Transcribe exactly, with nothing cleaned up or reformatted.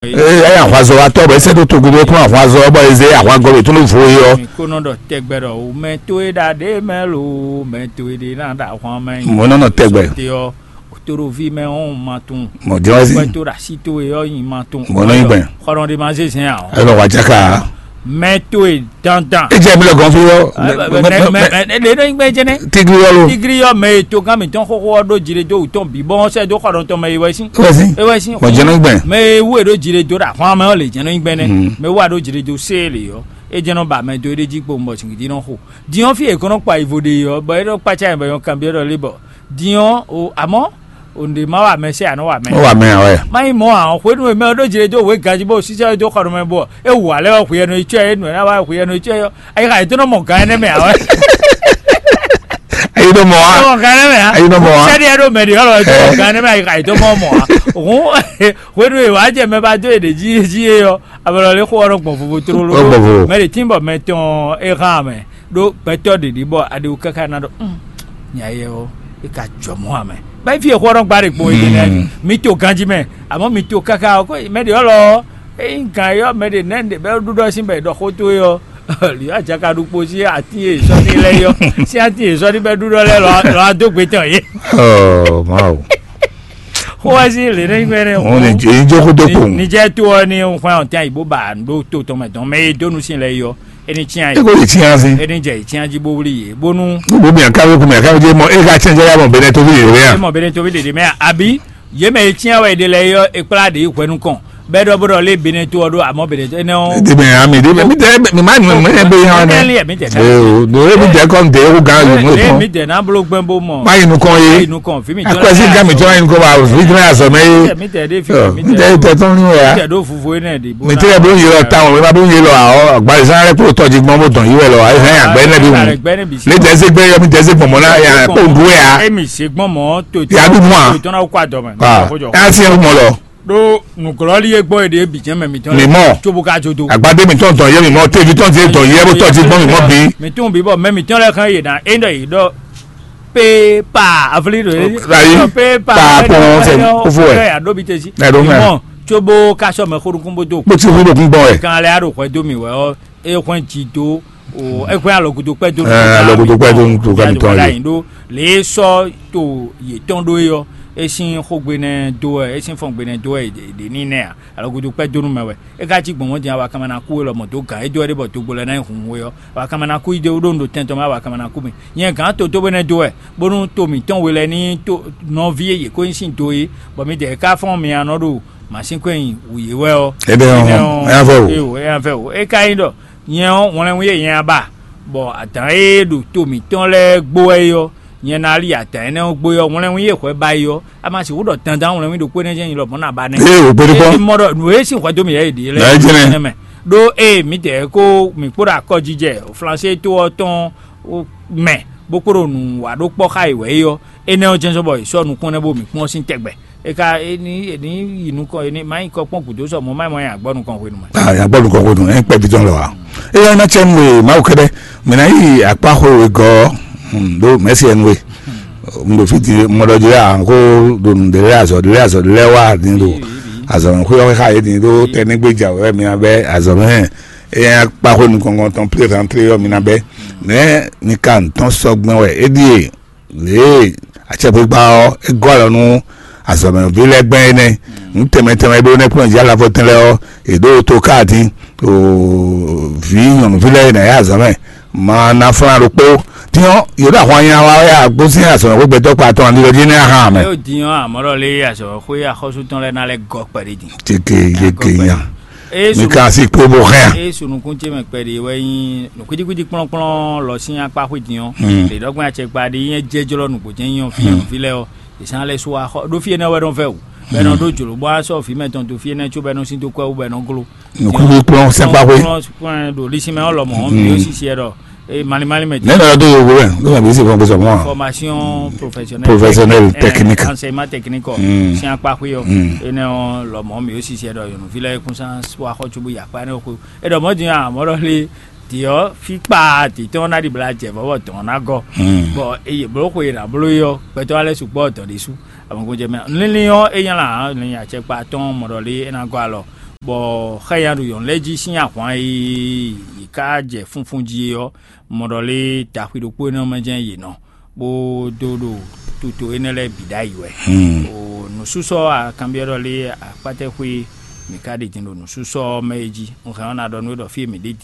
Eye ahwazɔ́watɔ́ bɔ é sɛ́ dó togun ɖé kplɔ́n ahwazɔ́ bɔ é zé ahwagɔ́ ɖo tó nú vo é ɔ́. Mi kó nɔ ɖɔ tɛgbɛ ɖɔ o mɛ towe ɖa ɖě mɛ lo, mɛ towe ɖe ná ɖa ahwan mɛ. Mɔ̌ nɔ nɔ tɛgbɛ. Te ɔ́, toɖoví mɛ ɔ́ ma tunwun. Mɔ̌ jɛ́n wá sí. Kpɛtó ɖo así towe ɔ́ nyi ma tunwun. Mɔ̌ nɔ nyi gbɛn. Xɔlɔn ɖe ma zé zɛn ǎ ɔ́. Ɛ lɔ wá jáka. Mɛ towe dandan. E jɛ mi lɛ gɔn fí ɔ́. Ɖe nɔ nyi gbɛn jɛnɛ. Tigri ɔ́ lo. Tigri ɔ́ mɛ e togán mǐtɔn xóxó ɔ́ ɖó jiɖe dó wǔtɔn bǐ bɔn sɛ́ dó xɔlɔntɔn mɛ e wɛ sín. Wɛ sí. E wɛ sín. Mɔ̌ jɛ́n nɔ nyi gbɛn. Mɛ e wú e ɖó jiɖe dó ɖo ahwan mɛ ɔ́ lě jɛ́n nɔ nyi gbɛn nɛ́. Mɛ e wú a ɖó jiɖe dó sé e lě ɔ́, é jɛ́n nɔ ba mɛ dó é ɖé jí kpowun bɔ sǐngídi nɔ xo. Din ɔ́ fí e è ko nɔ kpa yi vo ɖe ɔ́, bɔ é nɔ kpácá yɛ bɔ é nɔ kanbyɔ́ ɖɔ lé bɔ. Din ɔ́ o amɔ̌ o nɖe ma wa mɛ sɛ anɔ wa mɛ. Ó wà mɛ ɔ́ wɛ. Má nyí mɔ̌ ǎ, hwenu e mɛ ɔ́ ɖó jlé dó wě ganjí bó sísɛ́ dó xɔ nɔ mɛ bɔ é wǔ alɛ ɔ́ hweyɛnɔ yi cɔ́ ɛ, é nǔ ɛ ná wá hweyɛnɔ yi cɔ́ ɛ ɔ́, ayixa yětɔn nɔ mɔ gǎn énɛ́ mɛ ǎ wɛ. Ayi nɔ mɔ wa. Mɔ gǎn énɛ́ mɛ ǎ. Ayi nɔ mɔ wa. Sɛ́ni ɛ ɖo mɛ ɖě ɔ́ lɔ é mɔ gǎn énɛ́ mɛ ayixa yětɔn mɔ mɔ ǎ. Hǔn hwenu e wǎ jɛ mɛ ba dó e ɖě jí jí é ɔ́, abɔlɔ lé xó ɔ́ nɔ gbɔn vovo tlóló. Ó gbɔn vovo. Mɛ ɖě tín bɔ mɛ tɔn é hán mɛ ɖó gbɛtɔ́ ɖě ɖi bɔ aɖewu káká ná ɖɔ nya yɛ ɔ́ é ka jɔ mɔ̌ ǎ mɛ. Bɛ́ fí e xó ɔ́ nɔ gba ɖe gbɔn é nɛ́ mi to ganjí mɛ, amɔ̌ mi to káká ɔ́ kó mɛ ɖě ɔ́ lɔ ɔ́, ényí gǎn é ɔ́ mɛ ɖě nɛ́ ɖě bɛ́ ɖúɖɔ sín bɔ è ɖɔ xó towe ɔ́ lǐ ajaka ɖu kpo sín atín e sɔ́ ní lɛ́ɛ yɔ sín atín e sɔ́ ní bɛ́ ɖúɖɔ lɛ́ɛ lɔ adó gbe tɔn yé. Ɔ Mawu. Xó wá sí lě nɛ́ gbɛ́ nɛ́. Wọn ni jẹ ijó kó dó kpowun. Nìjẹ́ tó ɔ ní xwán ọ̀tí àyíbó bá ɖó tó tɔmɛ tɔn mɛ e dó nu sín lɛ yɔ. Eni tiɲa yi. Eko yi tiɲa si. Eni jɛ yi tiɲa ji bó wuli yi bónú. Gbogbo mi àká wéku mi àká wéku mɔ eka tiɲa jẹ yà mọ bẹnẹ tóbi yìí rẹ. Ẹ mọ bẹnẹ tóbi dèdè mẹ àbí yé mẹ yi tiɲa wẹ de lẹ yọ ekpla de yi hwẹnu kàn bẹẹ dọ bó dọ lé bẹnẹ tó ọdún àmọ́ bẹnẹ tó ẹnẹ o. Dèbè àmì dèbè mi tẹ mi má nù mẹ ẹ bẹ yà wà nẹ. Ẹ mi tẹ ee o do ebi tẹ kọ́ ntẹ ewu gan yòó mú lé ètò. Mi tẹ náà bolo gbẹ bó mọ. Má yìí nukọ yé. Má yìí nukọ fi mi tọ́ akọsí lẹ́yìn gami tí wọ́n yìí nukọ bá fi tí wọ́n yà sọ mẹ́ yé. Mi tẹ dé fi mi tẹ tẹ tọ́ nínú yà. Mi tẹ dó fufu yé náà dé bó. Mi tẹ bó yé lọ táwọn mi má bó yé lọ àwọ àgbàlẹ̀ sáré kúrò tọ́jú gbọ́n bó tàn yí wẹ̀ lọ àyè fẹ́ yà gbẹ́ nẹ́bí wù. Gbẹ́ níbi sí. Mi tẹ se gbẹ́ yọ mi tẹ se gbọ̀mọ́ náà yà kó du wẹ̀ yà. Emi se gbọ́n mọ́ tó. Yà á dùn mọ́ à. Tó ìtọ́nà kó àdọ́mọ́. Ẹ á sí ẹ mọ́ lọ. Ɖó nǔglɔ́lí e gbɔn è ɖe bǐ jɛ́n mɛ mǐtɔn Mi mɔ. Tsobo ka jó dó. Agbadé mi tɔn tɔn yɛ mi mɔ, tevi tɔn ti tɔn yɛ bó tɔn ti gbɔn mi mɔ bi. Mi tún bí bɔ mɛ mǐtɔn lɛ́ɛ xán yě ná é ɖɔ yě ɖɔ pé pa avlí ɖo é. Ayi, pé pa pa pɔn sɛ kófó wɛ. Ɛ aɖó bi tesi. Ɛ ɖó mɛ. Mɔ tsobo ka sɔ mɛ xóɖókún bó dó. Bó ti hu ɖo kún gbɔn wɛ. Kan lɛ aɖo hwɛ dó mi wɛ ɔ, é hwɛn jì dó o é hwɛn alɔgudo kpɛ dó. Ɛ alɔgudo kpɛ dó tó ka mi tɔn yé. Lě sɔ to yětɔn ɖó é ɔ́, é sín xógbe nɛ́ dó wɛ, é sín fɔngbe nɛ́ dó wɛ è ɖě ní nɛ́ ǎ. Alɔgudo kpɛ́ dó nú mɛ wɛ. É ka cí gbɔn mɔ̌ din awa kanmɛ ná kú we lɔmɔ̌ dó gǎn é dó wɛ ɖé bɔ dogbo lɛ́ɛ ná nyi hunhun we ɔ́, awa kanmɛ ná kú yi dó ɖó un ɖo tɛn tɔn mɛ awa kanmɛ ná kú mi. Nyɛ gǎn to dó we nɛ́ dó wɛ, bónú to mǐtɔn we lɛ́ɛ ní to nɔví e yě ko nyí sín do é, bɔ midɛɛ ká fɔ́n mi anɔ ɖo mǎsínkɔ́ nyi wǔ yé wɛ ɔ́. Ebe ɔ́, ebe ɔ́, ɛ yá fɛ o. Eo, ɛ yá fɛ o. É ka nyí ɖɔ nyɛ ɔ́, wlɛnwú e nyɛ ba, bɔ adǎn e ɖo to mǐtɔn lɛ́ɛ gbo wɛ é ɔ́, nyɛ ná li adǎn énɛ́ ɔ́ gbo é ɔ́, wlɛnwú e hwɛ ba é ɔ́, a ma sixú ɖɔ dandan wlɛnwí ɖokpó énɛ́ jɛ́n nyi lɔmɔ̌ ná ba nɛ́. Ée wǒ kpé ɖokpó. Mɔ ɖɔ nǔ e sín hwɛ dó mì yɛ yě ɖe lɛ́ɛ Ná jɛ́nɛ. Nɛ́ mɛ. Ɖó ée mǐdɛɛ kó mǐ kpó ɖo akɔjijɛ Flansée to ɔ́ tɔn mɛ bó kpó ɖo nǔ wa ɖó kpɔ́ xá yě wɛ é ɔ́, énɛ́ ɔ́ jɛ́n zɔ́n bɔ è sɔ́ nukún nɛ́ bó mǐ kpɔ́n sín tɛgbɛ. É ka é ní é ní yi nukɔn é ní má nyí kɔ kpɔ́n gǔdo sɔ mɔ̌ má mɔ nyi agbɔ́ nukɔn hwenu mɛ. Ah, ya gbɔ nukɔn ko dun, ɛ kpɛ bi tɔn lɛ wa. Eya na tsɛ nue Mawu kɛdɛ, mɛ na yi akpa xo we gɔ, hmm, do mɛsi ɛnu we. Ŋdo fiti mɔdɔ dzi ya ko do nu de lɛ azɔ de lɛ azɔ de lɛ wa din do. Azɔ xo yɔ xa ye din do tɛ ne gbe ja wɛ mi na bɛ azɔ mɛ. Eya akpa xo nukɔn tɔn plé rentré yɔ mi na bɛ. Mɛ ni ka ntɔn sɔgbɛn wɛ e die. Lě e acɛkpikpa ɔ́ é gɔ́ alɔ nú azɔ̌mɛví lɛ́ɛ gbɛn é nɛ́. Nǔ tɛnmɛ tɛnmɛ e bló nɛ́ kplɔ́n jǐ alavɔtɛn lɛ́ɛ ɔ́, è ɖǒ to káa dín ɖo vǐ nyɔ̌nuví lɛ́ɛ e nǎ yá azɔ̌ mɛ ma ná flán ɖokpó. Din ɔ́, yě ɖo ahwan nya wa wɛ agbósín azɔ̌mɛxwé gbɛtɔ́ kpa tɔn ani lɔ jí nɛ́ ahan mɛ. Yóò din ɔ́, àmọ́ ɖɔ lé azɔ̌mɛxwé axɔ́sú tɔn lɛ́ɛ ná lɛ́ gɔ́ kpɛɖé din. Teke yeke nya. Eye mi sunu- ka si kpe bo hɛn. Eye sunukun ce mɛ kpɛɖe wɛ nyi nukwidikwidi kplɔ́nkplɔ́n lɔ sín akpa xwé din ɔ́. Hmm. Ɖe ɖɔgbɛn acɛkpa ɖe nyɛ jɛjlɔ nukpo jɛn nyɔ fi Hmm. Fi lɛ ɔ́. Ìsán lɛ so axɔ ɖó fi énɛ́ wɛ nɔ vɛ wò. Bɛ nɔ Hmm. Ɖó jlǒ bɔ asɔ fi mɛ tɔn to fi énɛ́ tso bɛ nɔ sín dó kpɛ wú bɛ nɔ glo. Nukwidikwidi kplɔ́n sɛn akpa xwé. Kplɔ́n kplɔ́n ɖo lisi mɛ ɔ́ lɔmɔ Hmm. Mi ó sisi ɛ ɖɔ. Ee mali mali mɛ. Ne nɔ do yogo wɛ, ne nɔ bi si fɔn gbèsè mɔ. Formation professionnelle. Professionnelle Eh, technique. Enseignement technique ɔ. Hmm. Sian kpa xwe ɔ. Hmm. Ene ɔ lɔmɔ mi osi sɛ dɔ yɔnu fi lɛ kun san wa xɔ tsubu yakpa ne xwe. E dɔ mɔ din a mɔ dɔ le diɔ fi kpa ti tɔn na di bla jɛ vɔ bɔ tɔn na gɔ. Hmm. Bɔ eye blo xwe na blo yɔ gbɛtɔ alɛ sugbɔ dɔ de su. Amɔ ko jɛ mɛ. Lili ɔ e nya la, lili atsɛ kpa tɔn mɔ dɔ le e na gɔ alɔ. Bɔ xá nya ɖo yɔ̌nu lɛ́ɛ jí sín ahwan e yě ká jɛ funfun jí é ɔ́, mɔ ɖɔ lé daxwi ɖokpó énɛ́ mɛ jɛ́n yě nɔ, bó dó ɖo tuto énɛ́ lɛ́ɛ bǐ ɖ'ayǐ wɛ. O nǔsúsɔ akanbyɔ́ ɖɔ lé akpátɛ́xwé mǐ ka ɖe din ɖo nǔsúsɔ ɔ́ mɛ é jí. Un hɛn ɔ́ ná ɖɔ nú we ɖɔ fí e mǐ ɖe din